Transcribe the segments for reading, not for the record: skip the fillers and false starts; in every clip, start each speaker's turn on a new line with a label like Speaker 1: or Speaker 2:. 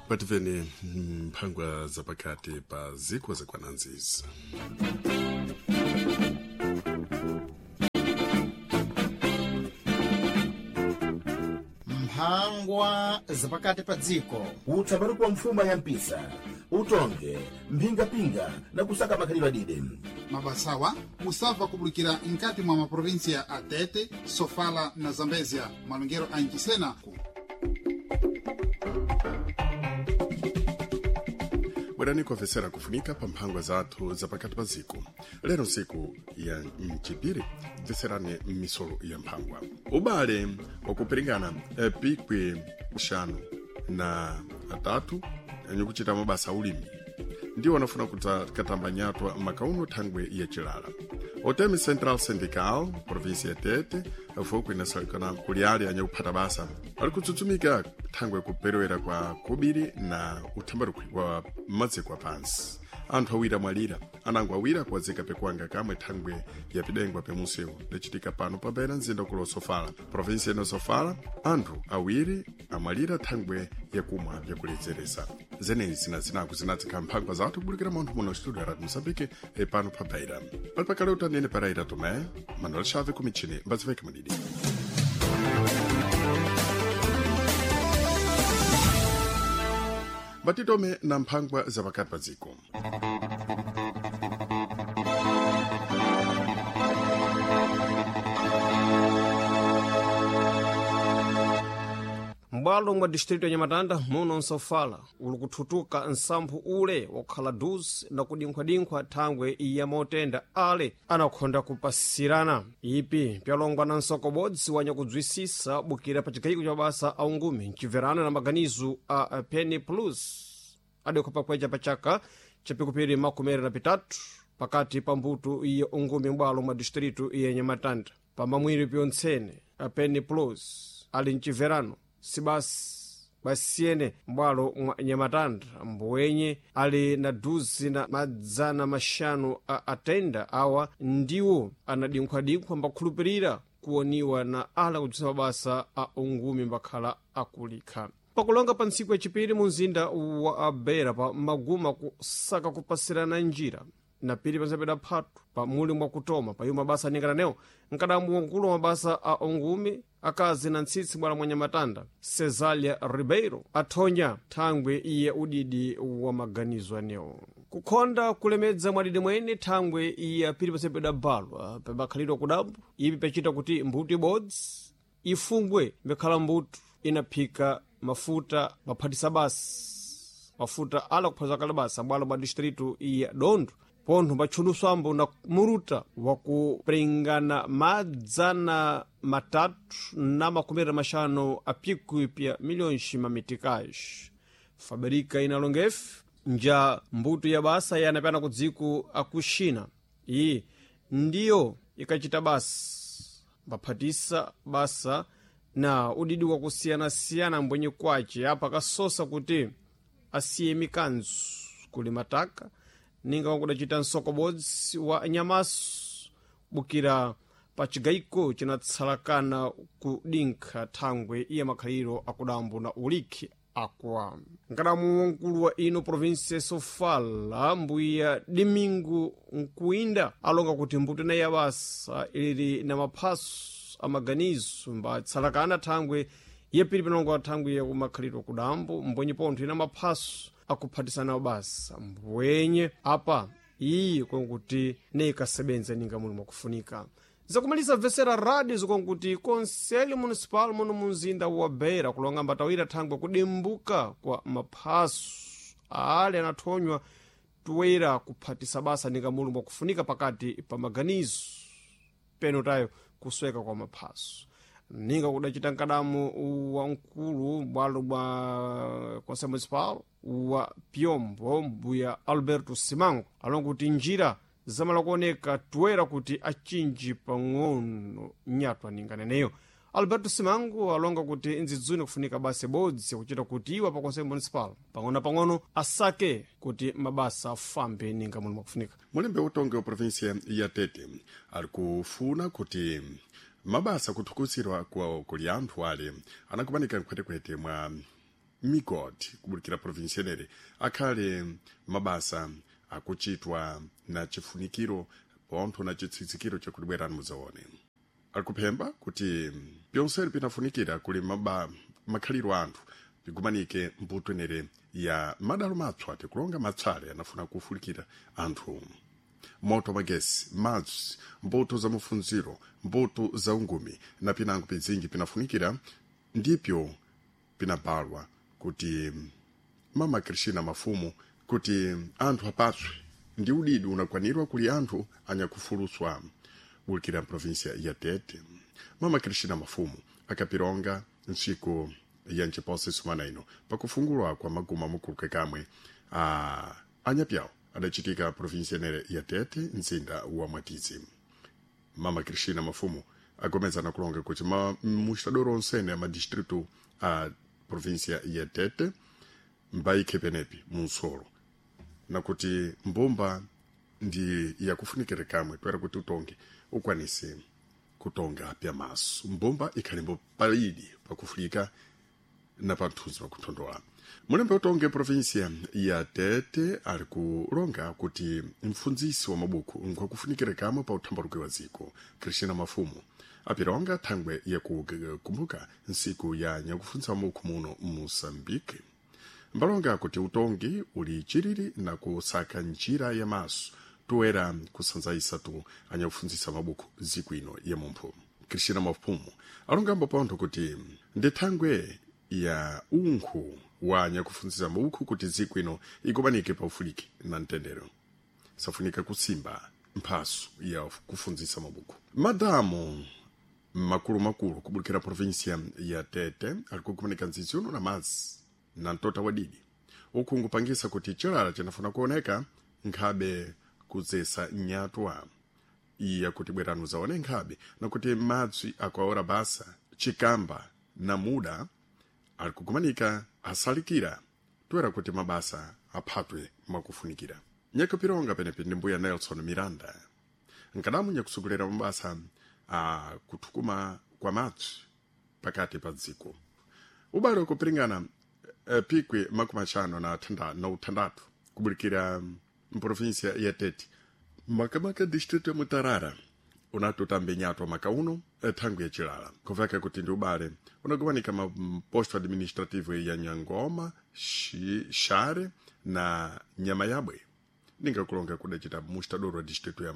Speaker 1: Pativeni mphangwa zapakati pa ziko zakwananzizi.
Speaker 2: Mphangwa zapakati pa dziko.
Speaker 3: Utsapatu kwa mfuma ya mpisa, utonge mphingapinga na kusaka makhalidwe adide.
Speaker 4: Mabasawa musava kubulikira nkati mwa maprovinsia a Tete, Sofala na Zambezia, malongero a Ncisena ku
Speaker 1: Bwerani kuofesera kufunika pa mphangwa zathu zapakati pa ziko. Lero ntsiku ya mchipiri, bveserani m'misolo ya mphangwa. Ubale wakupiringana pikwi xanu na atatu anyukuchita mabasa aulimi ndiwo anafuna katamba nyatwa makauno thangwe ya chilala. Otemi Central Syndical, província ya Tete, fuku inasalikana kuliali anyakuphata basa ali kutsutsumika thangwe kuperewera kwa kubiri na uthambarukhwi wa maziko apansi. Anthu awiri amwalira, anango awiri akuwazika pekuanga kamwe thangwe ya pidengwa pemunsewu lichitika pano pabera mzinda kulo Sofala, província ino Sofala. Anthu awiri amwalira thangwe yakumwa yakuledzeresa. Zenezi na zinaku zinadzikha mphangwa zathu kubulikira munthu muno studio ya Radio Mozambique pano pa Beira. Pali pakale utanene Pereira Tomé, Manuel Chave ku michini mbaziveke mudidi. Batitome na mphangwa zapakati pa dziko.
Speaker 5: M'bwalo mwa distrito ya Nyamatanda muno nsofala uli kuthutuka nsamphu ule wakhala duzi na kudinkhwadinkhwa thangwe ya motenda ale anakhonda kupasirana. Ipi pyalongwa na nsokobodzi wanyakudzwisisa bukira pa chigayiko cha mabasa a ungumi mcibverano na maganizo a Penny Plus adekho pakweca pa chaka cha pikupiri makumi na pitatu pakati pa mbuto ya ungumi m'bwalo mwa distrito ya Nyamatanda. Pamamwiri pyontsene a Penny Plus ali mcibverano sibasi basiyene m'bwalo mwa Nyamatanda mbuwenye ali na duzi na madzana maxanu a atenda awa ndiwo anadinkhwadinkhwa mbakhulupirira kuwoniwa na ala kudzisa mabasa a ungumi mbakhala akulikha. Pakulonga pa ntsiku yacipiri mu mzinda wa Beira pa maguma kusaka kupasirana njira na pili panzapeda phatu pa muli mwakutoma pa iwo mabasa aningananewo mkadambu wankulu wa mabasa a ungumi akazi na ntsitsi bwala mwa Nyamatanda Cesalia Ribeiro athonya thangwe iye udidi wa maganizo anewo kukhonda kulemedza mwadidi mwene thangwe iye apili pasepeda balwa pabakhalidwa kudambu ipi pachita kuti mbuto ibodzi ifungwe mbekhala mbuto inaphika mafuta maphatisa basi mafuta ala kuphatisa kale basa bwalo bwa distrito iya Dondo pontho mbatchulusambo na muruta wakuprengana madzana matatu na makumi maxanu a pikwi pya milhões mamitikax. Fabrika inalongefe nja mbuto ya basa yanapyana ku dziko akuxina iyi ndiyo ikacita basa mbaphatisa basa na udidi wakusiyanasiyana mbwenye kwace apa kasosa kuti asiye mikanzu kuli mataka ninga wakudacita nsokobodzi wa nyamaso bukira pa cigayiko cinatsalakana kudinkha thangwe iya makhaliro akudambo na ulikhi akwa. Nkadamu wankulu wa ino provinsia Sofala mbuya Domingo Nkuinda alonga kuti mbuto inayi ya basa ilili na maphaso amaganizo mbatsalakana thangwe yapiri pinongo thangwe yakumakhaliro kudambo mbwenye pontho ina maphaso akuphatisana basa mbwenye apa iyi konkuti neikasebenza ninga muli mwakufunika. Zakumaliza vesera radio zikonkuti Conselho Municipal muno munzinda wa Beira kulonga mbatawira thangwe kudimbuka kwa maphaso ale anathonywa toera kuphatisa basa ninga muli mwakufunika pakati pa maganizo peno tayo kusweka kwa maphaso ninga kudacita mkadamu wa mkulu bwalo bwa Conselho Municipal wa Piombo mbuya Alberto Simango alonga kuti njira zamala kuoneka toera kuti achinji pang'ono nyatwa ninganeneyo. Alberto Simango alonga kuti nzidzuni kufunika basa ibodzi kuchita kuti iwo pa Conselho Municipal pang'ono-pang'ono asake kuti mabasa afambe ninga muli mwakufunika.
Speaker 1: Mulembe utongi wa província ya Tete ali kufuna kuti mabasa kuthukusirwa kwa kuli anthu ale anakumanika mkhwetekhwete mwa migodi kubulikira provinsi yenere akhale mabasa akuchitwa na chifunikiro pontho na chitsitsikiro chakuti bwerani mudzaone. Ali kuphemba kuti pyonseri pinafunikira kuli makhaliro anthu pigumanike mbuto enere ya madalo matswa tikulonga matsale anafuna kufulikira anthu moto magesi, madzi, mbuto za mafunziro, mbuto za ungumi na pinango pizingi pinafunikira ndipyo pinabalwa kuti mama Cristina Mafumu kuti anthu apatswe ndi udidi unakwanirwa kuli anthu anyakufuluswa bulikira provinsia ya Tete. Mama Cristina Mafumu akapironga ntsiku ya nchiposa sumana ino pakufungulwa kwa maguma mukuluke kamwe a anyapyawo adachitika provinsia enere ya Tete, mzinda wa Mwatizi. Mama Cristina Mafumu agomezana kulonga kuti mustadoro onsene a madistritu a provinsia ya Tete mbaikhe penepi munsolo nakuti mbumba ndi yakufunikira kamwe toera kuti utonge ukwanise kutonga pyamaso. Mbumba ikhalimbo palidi pakufulika na panthuzi pakuthondola. Mulembe utonge provinsia ya Tete ali kulonga kuti mfundzisi wa mabuku nkwakufunikira kamwe pa uthambaluke wa dziko. Cristina Mafumu apironga thangwe yakukumbuka nsiku ya nyakufundzisa mabuku muno Moçambique. Mbalonga kuti utongi uli chiriri na kusaka njira ya maso toera kusanzaisa tu anyakufundzisa mabuku dziko ino ya mumphu. Cristina Mafumu alongambo pontho kuti ndi thangwe ya unkhu wa anyakufundzisa mabuku kuti dziko ino ikumanike paufuliki na mtendero. Safunika kusimba mphaso ya kufundzisa mabuku. Madamu makulumakulu kubulikira provinsia ya Tete ali kukumanika ndzidzi uno na madzi na mtota wadidi uku nkupangisa kuti chilala chinafuna kuoneka nkhabe kudzesa nyatwa iya kuti bwerani zaone nkhabe nakuti madzi akuaora basa chikamba na muda ali kukumanika asalikira toera kuti mabasa aphatwe mwakufunikira. Nyakupironga penepi ndi mbuya Nelson Miranda nkadamu nyakusogolera mabasa a kuthukuma kwa madzi pakati pa dziko. Ubale ukupiringana pikwi 56 kubulikira mprovinsia ya Tete makamaka distrito ya Mutarara unatutambe nyatwa maka uno thangu ya chilala kuveka kuti ndi ubale unakumanika maposto administrativo ya Nyangoma, Share na Nyamayabwe ningakulonga kudacita mustadoro wa distrito ya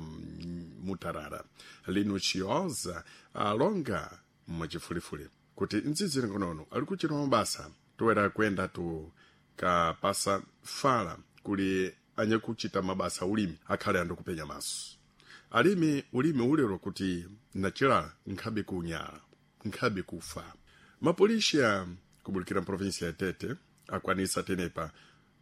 Speaker 1: Mutarara. Lino Chioza alonga mwachifulifuli kuti ndzidzi lingonono ali kuchita mabasa toera kwenda tu kapasa fala kuli anyakuchita mabasa ulimi akhale andikupenya maso. Alimi ulimi ulero kuti nachilala nkhabe kunyala nkhabe kufa. Mapolisiya kubulikira mprovinsia ya Tete akwanisa tenepa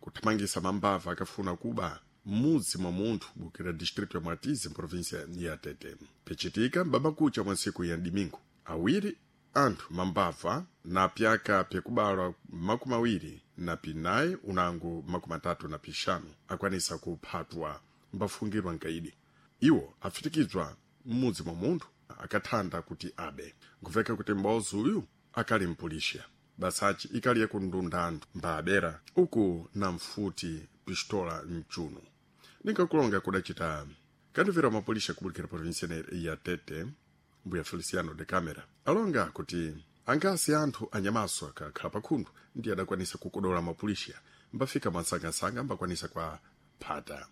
Speaker 1: kuthamangisa mambava akafuna kuba mudzi mwa munthu bukira distrito ya Mwatizi mprovinsia ya Tete. Pichitika mbabakucha mwa ntsiku ya Dimingo awiri anthu mambava na pyaka pyekubalwa 24 unango 35 akwanisa kuphatwa mbafungirwa nkaidi. Iwo afitikizwa m'mudzi mwa munthu akathanda kuti abe. Nkuveka kuti mbozi uyu akali mpulisha basachi ikali yakundunda anthu mbaabera uku na mfuti pistola mchuno. Ninkakulonga kudacita kandivera mapulisha kubulikira provinsia ya Tete mbuya Feliciano de Camera alonga kuti angasi anthu anyamaso akakhala pakhundu ndi adakwanisa kukodola mapulisha mbafika mwansangasanga mbakwanisa kwa phata.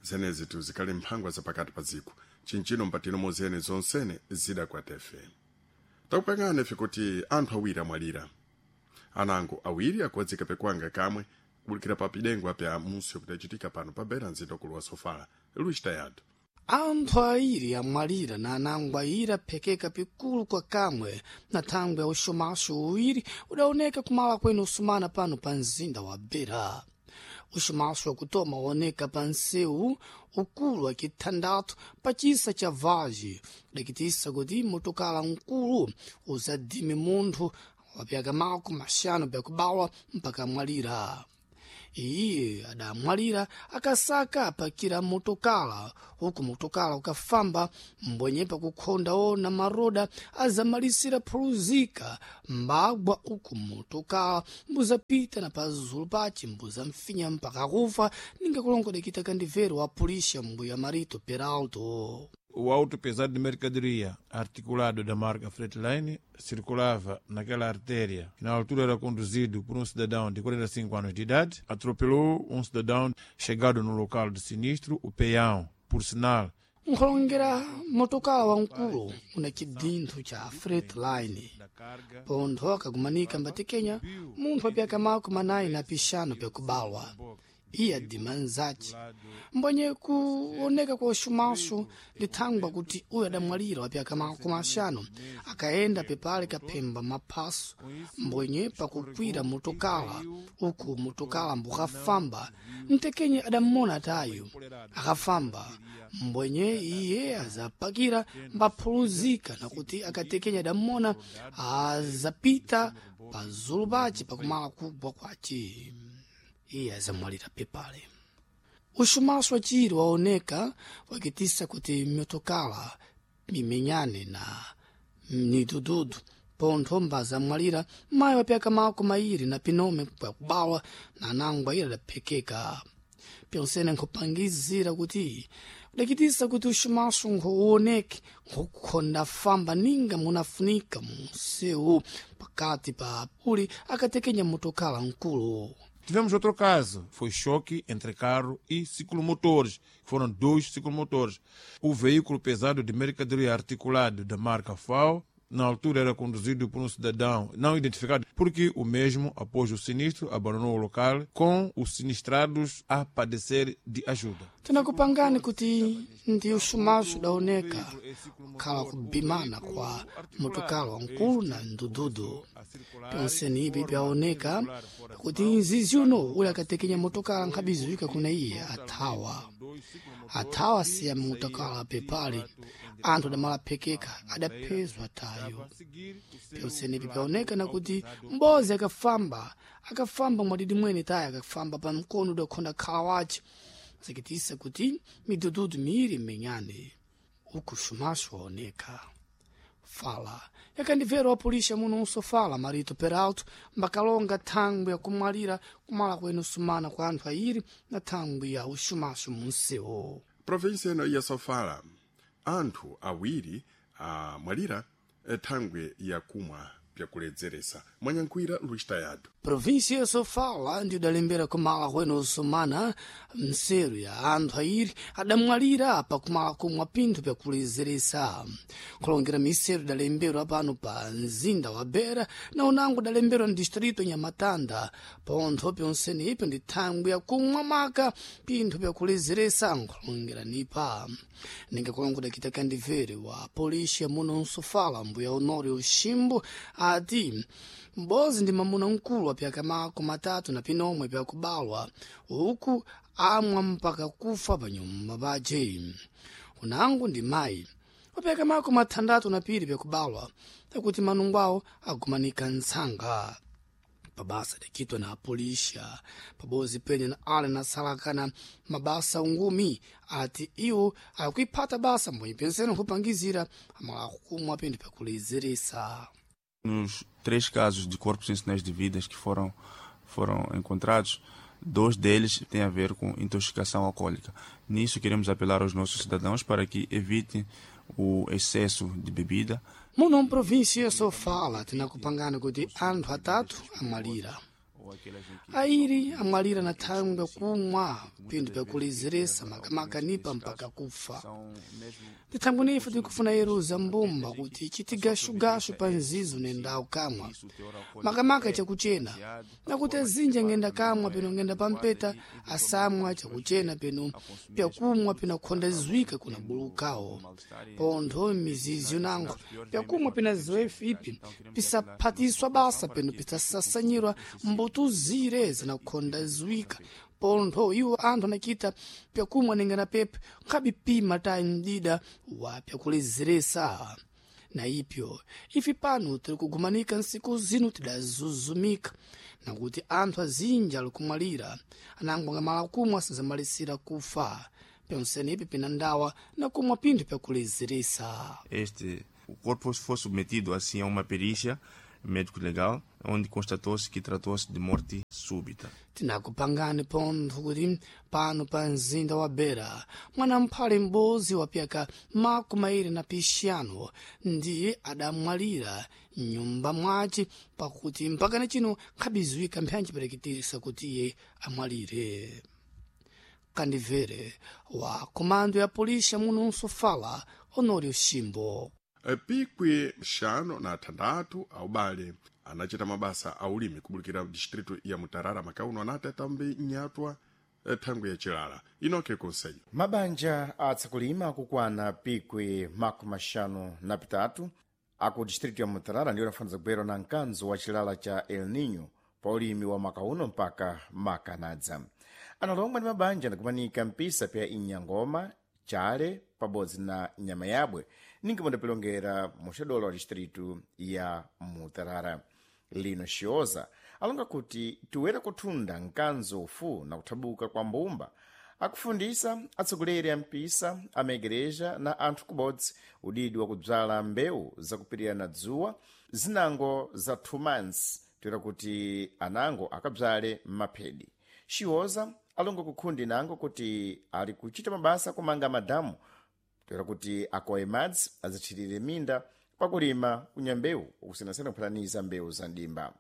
Speaker 1: Zenezi tuzikali mphangwa zapakati pa dziko chinchino mpatino mozene zonsene zidakwatefe. Takupangana ife kuti anthu awiri amwalira anango awiri akuwadzika pekwanga kamwe kubulikira pa pidengo apya musi kudachitika pano pa bera mzinda ukulu wa Sofala. Luis Tayado.
Speaker 6: Anthu airi amwalira na anango airi aphekeka pikulu kwa kamwe na thangwe ya uxomaxo uwiri udaoneka kumala kwene usumana pano pa mzinda wa Beira. Uxomaxo wakutoma waoneka pa nsewu ukulu wa kithandathu pa cisa cha Vage, udakitisa kuti motokala nkulu uzadime munthu wa pyaka mako maxanu pyakubawa mpaka amwalira. Iye adamwalira akasaka apakira motokala huku motokala ukafamba mbwenye pakukhonda ona maroda azamalisira phuluzika mbagwa uku motokala mbuzapita na pazulu pace mbuzamfinya mpaka kufa ninga kulongodekita kandivero wa pulisha mbuya Marito Peralto.
Speaker 7: O auto pesado de mercadoria, articulado da marca Freightline, circulava naquela artéria, que na altura era conduzido por um cidadão de 45 anos de idade, atropelou um cidadão chegado no local do sinistro, o peão, por sinal.
Speaker 6: Nkholongera motokala wamkulu una chidinthu cha Freightline pontho akagumanika mbatekenya munthu apyaka mako manayi na pixanu pyakubalwa. Iye adima nzace mbwenye kuoneka kwa uxumaxu ndi thangwa kuti uyu adamwalira wapyaka makumi axanu akayenda pepale kaphemba maphaso mbwenye pakukwira motokala uku motokala mbukafamba mtekenye adammona atayu akafamba mbwenye iye azapakira mbaphuluzika nakuti akatekenya adammona azapita pazulu pace pakumala kugwa kwace. Iye azamwalira pepale. Uxumaxu waciri waoneka wakitisa kuti mitokala mimenyane na midududu pontho mbazamwalira mayi wapyaka mako mairi na pinome pyakubawa na anango ayiri adaphekeka. Pyonsene nkhupangizira kuti kudakitisa kuti uxumaxu nkhuwoneke nkhukhonda famba ninga munafunika munsewu pakati pa uli akatekenya motokala mkulu.
Speaker 7: Tivemos outro caso, foi choque entre carro e ciclomotores. Foram dois ciclomotores. O veículo pesado de mercadoria articulado da marca FAO, na altura era conduzido por um cidadão não identificado, porque o mesmo, após o sinistro, abandonou o local com os sinistrados a padecer de ajuda.
Speaker 6: Tinakupangani kuti ndi uxumaxu udaoneka kukhala kubimana kwa motokala wankulu na ndududu. Pyonseni ipi pyaoneka kuti nzizi uno uli akatekenya motokala nkhabiziwika kuna iye athawa. Athawa siya motokala pepale anthu adamalaphekeka adaphezwa tayo. Pyonseni ipi pyaoneka nakuti mbozi akafamba akafamba mwadidi mwene tayo akafamba pa mkono udakhonda khala wace zikitisa kuti midududu miiri imenyane uku xumaxu waoneka. Fala yakandivera wapulisha muno unsofala Marito Peralto mbakalonga thangwi yakumwalira kumala kwenu sumana kwa anthu ayiri na thangwi ya uxumaxu munsewu.
Speaker 1: Provinsi ino ya Sofala anthu awiri amwalira thangwi yakumwa pyakuledzeresa mwanyankhwira Luis Tayado.
Speaker 6: Província ya Sofala ndi udalembera kumala kwenu usumana mseru ya anthu ayiri adamwalira pakumala kumwa pinthu pyakulezeresa. Kulongera miseru idalemberwa pano pa mzinda wa Beira na unango udalemberwa mdistrito Nhamatanda. Pontho pyonsene ipyo ndi thangwi yakumwa maka pinthu pyakulezeresa nkulongera nipa. Ninga kulongoda kita kandivere wa polícia muno Nsofala mbuya Honório Ximbo ati mbozi ndi mamuna mkulu wapyaka mako matatu na pinomwe pyakubalwa uku amwa mpaka kufa panyumba pace. Unangu ndi mayi wapyaka mako mathandatu na piri pyakubalwa takuti manungo awo agumanika ntsanga. Pabasa adacitwa na apolixa pabozi pene na ale nasalakana mabasa ungumi ati iwo akuiphata basa mbwenye pensene nkhupangizira amala kumwa pinthu pyakulezeresa.
Speaker 8: Nos três casos de corpos sem sinais de vidas que foram encontrados, dois deles têm a ver com intoxicação alcoólica. Nisso queremos apelar aos nossos cidadãos para que evitem o excesso de bebida.
Speaker 6: Muno mprovíncia Sofala tinakupangana kuti anthu atatu amwalira. Airi amwalira na thangwi yakumwa pinthu pyakulezeresa makamaka nipa mpaka kufa. Ndi thangwi nife tikufuna yeruza mbumba kuti chitigaxugaxu pa nzizo nendawu kamwa makamaka chakuchena nakuti azinji angenda kamwa peno ngenda pampeta asamwa chakuchena peno pyakumwa peno akhonda zwika kuna bulukawo. Pontho mizizi yonango pyakumwa pena ziwefu ipi pisaphatiswa basa peno pisasasanyirwa mbutuzire zinakhonda zwika. Pontho iwo anthu anachita pyakumwa ninga na pepe nkhabipima tayi mdida wa pyakulezeresa. Na ipyo ife pano tiri kugumanika nsiku zino tidazuzumika nakuti anthu azinji ali kumwalira anango angamala kumwa asanzamalisira kufa pyonsene ipi pina ndawa na kumwa pinthu pyakulezeresa.
Speaker 8: Este o corpo foi submetido assim a uma perícia médico-legal, onde constatou-se que tratou-se de morte súbita.
Speaker 6: Tinakupangani pontho kuti pano pa mzinda wa Beira mwana mphale m'bodzi wa pyaka 25 ndiye adamwalira mnyumba mwace pakuti mpakana chino nkhabiziwika mphanji pereketisa kuti iye amwalire. Kandivere wa komando ya polisi muno Nsofala, Honório Shimbo.
Speaker 1: Pikwi 56 aubale anachita mabasa aulimi kubulukira distrito ya Mutarara makauno anati atambe nyatwa thangwi ya chilala. Inoke Conselho.
Speaker 9: Mabanja atsakulima akukwana pikwi 53 aku distrito ya Mutarara ndiwo anafaniza kubwera na mkanzo wa chilala cha El Nino pa ulimi wa mwaka uno mpaka makanadza. Analomba ndi mabanja anakumanika mpisa pya Inyangoma, Chale pabodzi na nyama yabwe ninga pandapilongera muxadolo wa distrito ya Mutarara. Lino Xioza alonga kuti tiwera kuthunda mkanzo ufu na kuthabuka kwa mbumba akufundisa atsogoleri a mpisa amaigreja na anthu kubodzi udidi wa kubzala mbewu zakupirira na dzuwa zinango za 2 months toera kuti anango akabzale maphedi. Xioza alonga kukhundi nango kuti ali kuchita mabasa kumanga madamu toera kuti akowe madzi azathirire minda pakulima kunya mbewu ukusiyanasiyana kuphataniza mbewu za ndimba.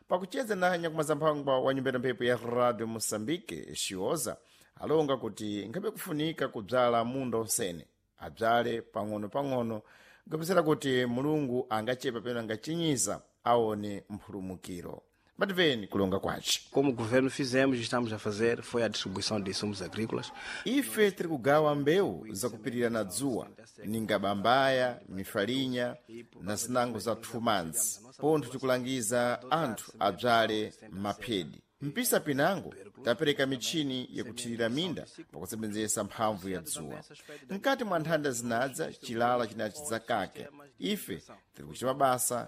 Speaker 9: Pakucheza na nyakumazamphangwa wa nyumba ya mphepo ya Radio Moçambique, Xioza alonga kuti nkhabe kufunika kubzala munda onsene abzale pang'ono-pang'ono kupezera kuti Mulungu angachepa pena angachinyiza aone mphulumukiro. Mativeni kulonga kwace.
Speaker 10: Como governo fizemos e estamos a fazer foi a distribuição de insumos agrícolas.
Speaker 9: Ife tiri kugawa mbewu zakupirira na dzuwa ninga bambaya, mifalinya na zinango za 2 months. Pontho tikulangiza anthu abzale maphedi. Mpisa pinango tapereka michini yakuthirira minda pakusebenzesa mphamvu ya dzuwa. Mkati mwa nthanda zinadza chilala chinachi zakake. Ife tiri kuchita mabasa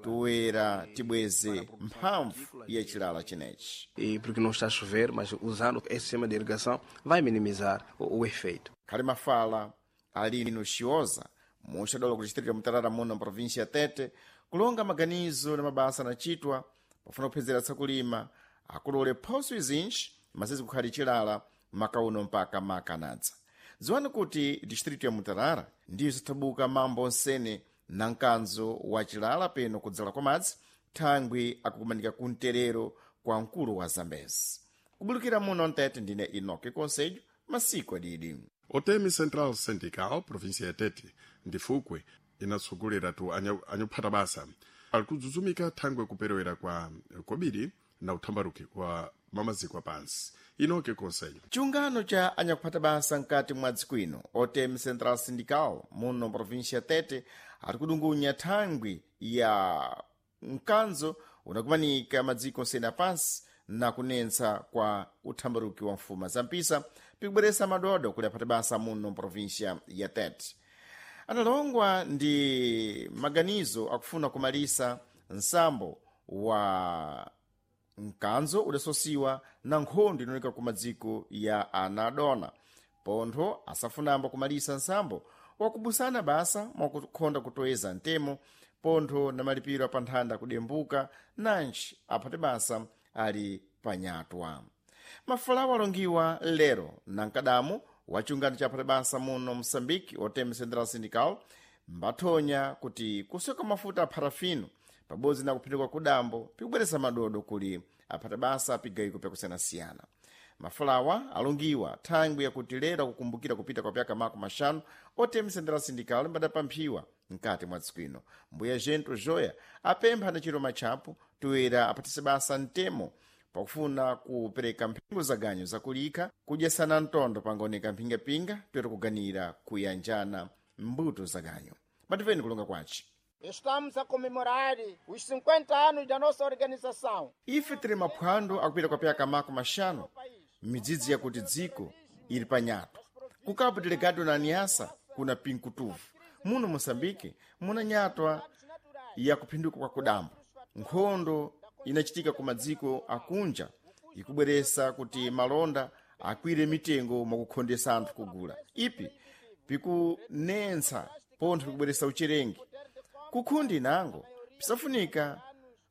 Speaker 9: toera tibweze mphamvu ya chilala chinechi.
Speaker 10: E porque não está a chover, mas usando esse sistema de irrigação vai minimizar o efeito.
Speaker 9: Khali mafala alino Xioza muxadolo ku distrito ya Mutarara muno província ya Tete kulonga maganizo na mabasa anachitwa pofuna kuphezera tsakulima akulole phoso izinji masizi kukhali chilala makauno mpaka makanadza. Dziwani kuti distrito ya Mutarara ndiyo zathabuka mambo onsene na mkanzo wa chilala peno kudzala kwa madzi thangwi akukumanika kumterero kwa mkulu wa Zambezi. Kubulukira muno Mtete ndine Enoque Conselho, masiku adidi.
Speaker 1: Otemi Central Syndical, província ya Tete, ndifukwe inatsogolera tu anyakuphata basa ali kudzudzumika thangwi kuperewera kwa kobiri na uthambaruki wa mamaziko apansi. Inoke Conselho.
Speaker 9: Chiungano cha anyakuphata basa mkati mwa dziko ino OTM Central Syndical muno província ya Tete ari kudungunya thangwi ya mkanzo unakumanika madziko onsene apansi na kunentsa kwa uthambaruki wa mfuma za mpisa pikubweresa madodo kuli aphata basa muno província ya Tete. Analongwa ndi maganizo akufuna kumalisa nsambo wa mkanzo udasosiwa na nkhondo inooneka ku madziko ya anadona pontho asafunambo kumalisa nsambo wakubusana basa mwakukhonda kutoeza ntemo pontho na malipiro apanthanda kudembuka nanji aphate basa ali panyatwa. Mafalawo alongiwa lero na mkadamu wa chiungano cha aphate basa muno Moçambique OTM Central Syndical mbathonya kuti kusoka mafuta a parafino pabodzi na kuphinduka kudambo pikubweresa madodo kuli aphata basa pigayiko pyakusiyanasiyana. Mafalawa alongiwa thangwi yakuti lero akukumbukira kupita kwa pyaka 50 OTM Central Syndical mbadapamphiwa mkati mwa dziko ino. Mbuya Gento Joya apempha na chiro matchapo toera aphatise basa mtemo pakufuna kupereka mphengo za ganyo zakulikha kudyesana mtondo pangaoneka mphingapinga toera kuganira kuyanjana mbuto za ganyo. Mativeni kulonga kwace.
Speaker 11: Estamos a comemorar os 50 anos da nossa organização.
Speaker 9: Ife tiri maphwando akupita kwa pyaka 50 midzidzi yakuti dziko ili panyato. Ku Cabo Delgado na Niassa kuna pinkutuvu. Muno Moçambique muna nyatwa ya kuphinduka kwa kudambo. Nkhondo inachitika ku madziko akunja ikubweresa kuti malonda akwire mitengo mwakukhondesa anthu kugula. Ipi pikunentsa pontho pikubweresa ucherengi. Kukhundi nango pisafunika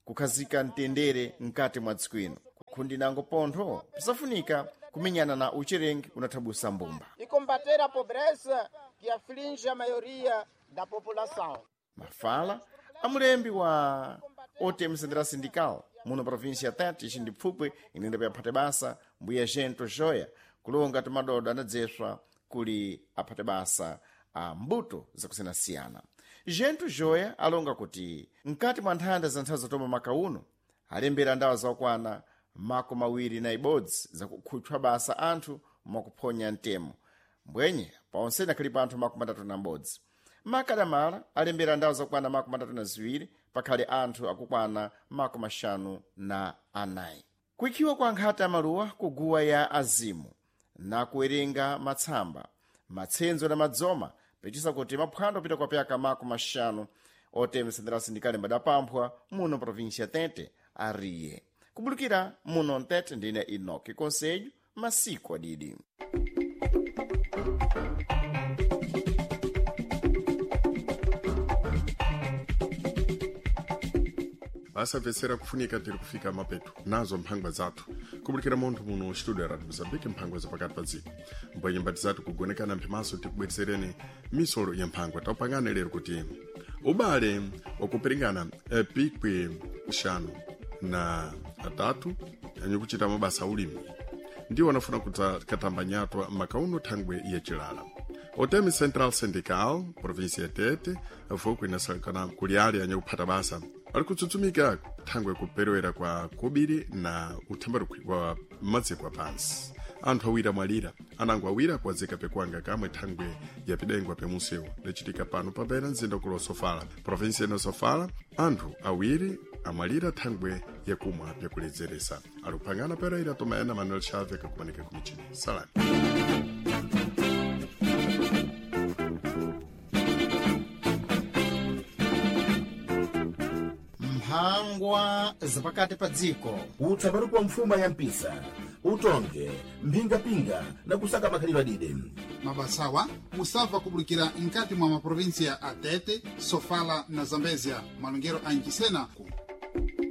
Speaker 9: kukhazika mtendere mkati mwa dziko ino. Kukhundi nango pontho pisafunika kumenyana na ucherengi unathabusa mbumba.
Speaker 11: E combater a pobreza que aflige a maioria da população.
Speaker 9: Mafala amulembi wa OTM Central Sindical muno província ya Tete ixindi pfupwi inenda kuyaphata basa mbuya Gento Joya kulonga timadodo anadzeswa kuli aphate basa a mbuto zakusiyanasiyana. Gento Joya alonga kuti mkati mwa nthanda za nthawi zatoma maka uno alembera ndawa zakwana 21 zakukhutchwa basa anthu mwakuphonya mtemo mbwenye paonsene akhalipo anthu 31. Makadamala alembera ndawo zakwana 32 pakhale anthu akukwana 54. Kuikhiwa kwa nkhata ya maluwa kuguwa ya azimu na kuwerenga matsamba matsenzo na madzoma pechisa kuti maphwando apita kwa pyaka 50 OTM Central Sindical mbadapamphwa muno província Tete ariye kubulukira muno Mtete ndine Enoki Conselho masiku adidi.
Speaker 1: Asamvetsera kufunika tiri kufika mapeto nazo mphangwa zathu kubulikira munthu muno studio ya Radio Mozambique mphangwa zapakati pa dziko mbwenye mbati zathu kugonekana mphimaso tikubweretsereni misolo ya mphangwa taupangane lero kuti ubale wakupiringana pikwi 5 na 3 anyikuchita mabasa ulimi ndiwo anafuna katamba nyatwa makauno thangwe yacilala. OTM Central Syndical província ya Tete vuku inasalikana kuli ali anyakuphata basa ali kutsutsumika thangwe kuperewera kwa kobiri na uthambarukhwi wa madziko apansi. Anthu awiri amwalira anango awiri akuwazika pekuanga kamwe thangwe yapidengwa pemusewu lachitika pano papera mzinda kulo Sofala província ino Sofala. Anthu awiri amwalira thangwe yakumwa pyakuledzeresa. Ali kuphangana pereira tomaena Manuel Chave kakumanika kumichini. Salani.
Speaker 2: Mphangwa zapakati pa dziko.
Speaker 3: Utsambaruko wa mfuma ya mpisa utonge mphingapinga na kusaka makhalidwe adide.
Speaker 4: Mabasawa musava kubulikira mkati mwa maprovinsia a Tete, Sofala na Zambezia. Malongero a Nchisena ku